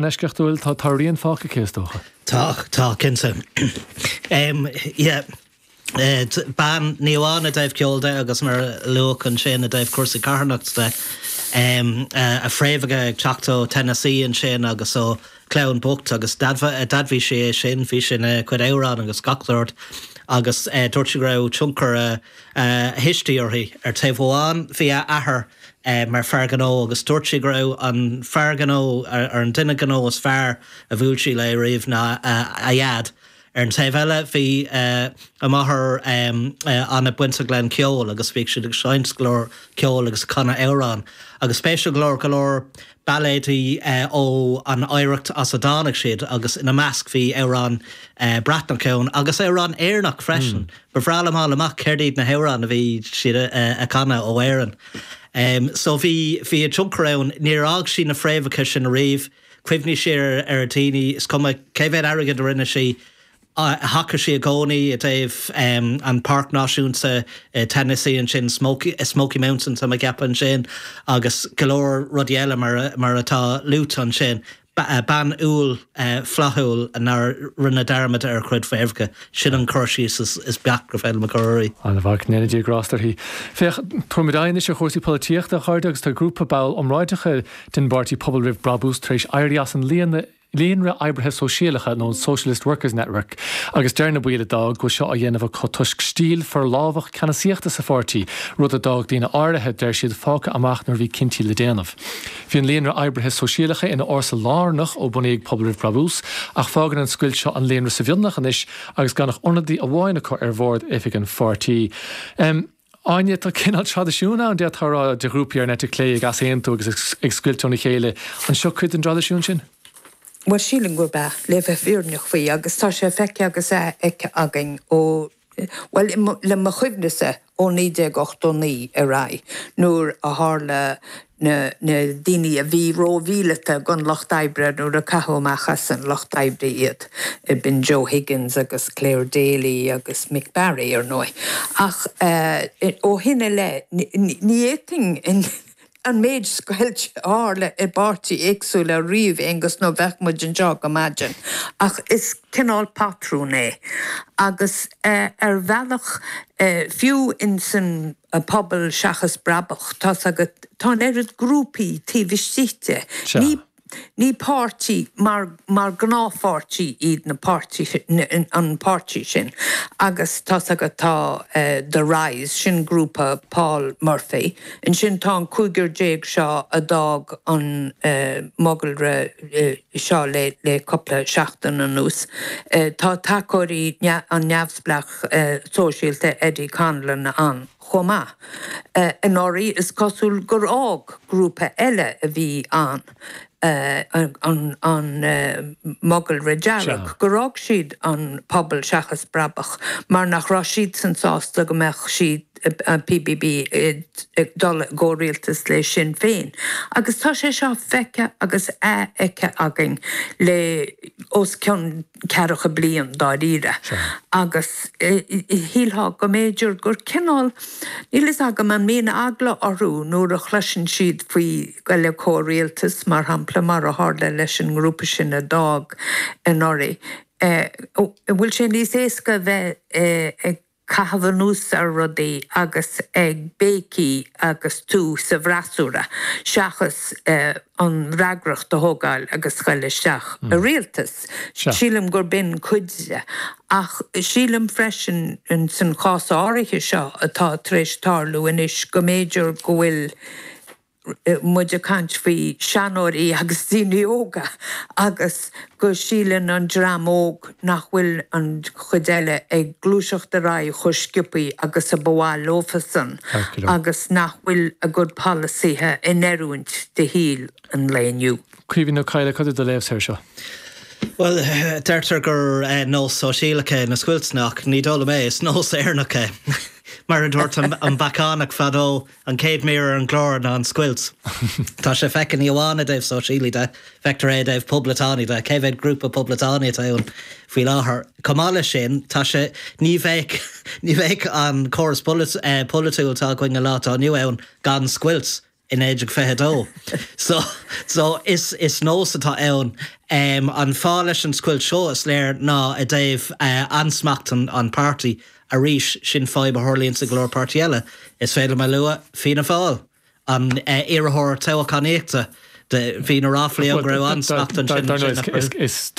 An-eisceachtúil, tá tá a rian fágtha aici, is dócha. Tá, tá, cinnte. Yeah. Bean, ní amháin i dtaobh ceoil de agus mar a luadh ansin i dtaobh cúrsaí carthanachta de, a fréamhacha ag teacht ó Tennessee ansin agus ó chlann bocht agus d'admhaigh sí é sin, bhí sé ina cuid amhrán agus gach sórt agus dúirt sí go raibh tionchar a thuistí uirthi. Ar taobh amháin bhí a athair mar fear gnó agus dúirt sí go raibh an fear gnó, ar an duine gnó is fearr a bhuail sí léi riamh ná a dhaid. Ar an taobh eile bhí a máthair an-bainteach le an ceol agus bhíodh siad ag seinnt go leor ceoil agus ag canadh amhrán. Agus spéisiúil go leor, go leor bailéidí ó an oidhreacht as a dtáinig siad agus ina measc bhí amhrán Breatnach ann agus amhrán Éireannach freisin. Ba bhreá liom fháil amach céard iad na hamhráin a bhí siad a canadh ó Éirinn. So bhí, bhí a tionchar ann. Níor fhág sí na fréamhacha sin ariamh. Chuimhnigh sí ar a daoine, is cuma cé mhéad airgead a rinne sí, thacaigh sí i gcónaí i dtaobh an Páirc Náisiúnta i Tennessee ansin, Smoky, Smoky Mountain tá mé ag ceapadh ansin, agus go leor rudaí eile mar, mar atá luaite ansin. Bean umhal flaithiúil nár rinne dearmad ar a cuid fréamhacha. Sin an cur síos is beacht gur féidir liom a chur uirthi. An-mhaith, go ndéana Dia grásta uirthi. Féach, tabharfaimid aghaidh anois ar chúrsaí polaitíochta, a chairde, agus tá grúpa ball iomráiteacha den bpáirtí Pobal Roimh Brabús tar éis éirí as an Líonra Oibrithe Sóisialacha nó an Socialist Workers Network agus deir na baill a d'fhág go bhfuil seo á dhéanamh acu toisc stíl forlámhach ceannasaíochta sa pháirtí, rud a d'fhág daoine áirithe, deir siad, fágtha amach nuair a bhí cinntí le déanamh. Bhí an Líonra Oibrithe Sóisialacha ina fhórsa lárnach ó bunaíodh Pobal Roimh Brabús ach fágann an scoilt seo an líonra sa mhionlach anois agus gan ach ionadaí amháin acu ar bhord oifig an pháirtí. Áine, tá cineál traidisiún ann, d'fhéadfá a rá, de ghrúpaí ar an eite chlé ag easaontú agus ag scoilt óna chéile. An seo cuid den dtraidisiún sin? Bhuel, sílim gurb ea, le bheith fírinneach faoi, agus tá sé feicthe agus athfheicthe againn ó, bhuel, le mo chuimhnese, ó 1989 ar aghaidh, nuair a tharla na daoine a bhí rómhíleata don Lucht Oibre nuair a caitheadh amach as an Lucht Oibre iad, b'in Joe Higgins agus Clare Daly agus Mick Barry, ar ndóigh. Ach ó shin i leith, ní fhéadfainn an méid scoilte a tharla i bpáirtí éagsúla a ríomh, Aonghus, nó bheadh muid anseo go maidin. Ach is cineál patrún é. Agus ar bhealach, fiú insan pobal seachas brabach, tá's agat, tá an oiread grúpaí taobh istigh de. Ní, ní páirtí mar, mar gnáthpháirtí iad na páirtithe, an páirtí sin. Agus tá's agat, tá The Rise, sin grúpa Paul Murphy. Ansin tá an cúigear déag seo a d'fhág an mogalra seo le, le cúpla seachtain anuas. Tá tacóirí an neamhspleách sóisialta Eddie Conlon ann chomh maith. Anuraidh is cosúil gur fhág grúpa eile a bhí ann, an Mogalra Dearg, gur fhág siad an Pobal Seachas Brabach mar nach raibh siadsan sásta go mbeadh siad, an PBB, ag dul i gcomhrialtas le Sinn Féin. Agus tá sé seo feicthe agus athfheicthe againn le os cionn ceathracha bliain dáiríre. Agus shílfeá go mb'fhéidir gur cineál, níl fhios agam an mbíonn eagla orthu nuair a chloiseann siad faoi dul i comhrialtas, mar shampla, mar a tharla leis an ngrúpa sin a d'fhág anuraidh. An bhfuil sé níos éasca a bheith ag caitheamh anuas ar rudaí agus ag béicigh agus tú sa bhfreasúra, seachas an fhreagracht a thógáil agus goil isteach i rialtas. Sílim gur b'in cuid de. Ach sílim freisin, san chás áirithe seo atá tar éis tarlú anois, go mb'fhéidir go bhfuil muid ag caint faoi seanóirí agus daoine óga agus go síleann an dream óg nach bhfuil an chuid eile ag gluaiseacht ar aghaidh chomh sciobthaí agus a ba mhaith leofasan agus nach bhfuil a gcuid polasaithe in oiriúint do shaol an lae inniu. Caoimhín Ó Cadhla, cad é do léamhsa air seo? Bhuel, deirtear gur nós sóisialach é na scoilteanna ach ní dóigh liom é, is nós Éireannach é. Mar a dúirt an Beacánach fadó, An chéad mír ar an gclár ná an scoilt. Tá sé feicthe ní amháin i dtaobh sóisialaigh de, feictear é i dtaobh poblachtánaigh de. Cé mhéad grúpa poblachtánaigh atá ann faoi láthair? Chomh maith leis sin, tá sé, ní bheadh, ní bheadh an córas polaitiúil atá againn an lá atá inniu ann gan scoilt. i 1922. So, so is, is nós atá ann. An fáth leis an scoilt seo, is léir, ná i dtaobh ansmacht an, an páirtí. Arís, sin fadhb a tharlaíonns i go leor páirtí eile. Is féidir liom a lua, Fianna Fáil, an iarrthóir toghchánaíochta, bhí na ráflaí ann go raibh ansmacht ansin, ansin. Is.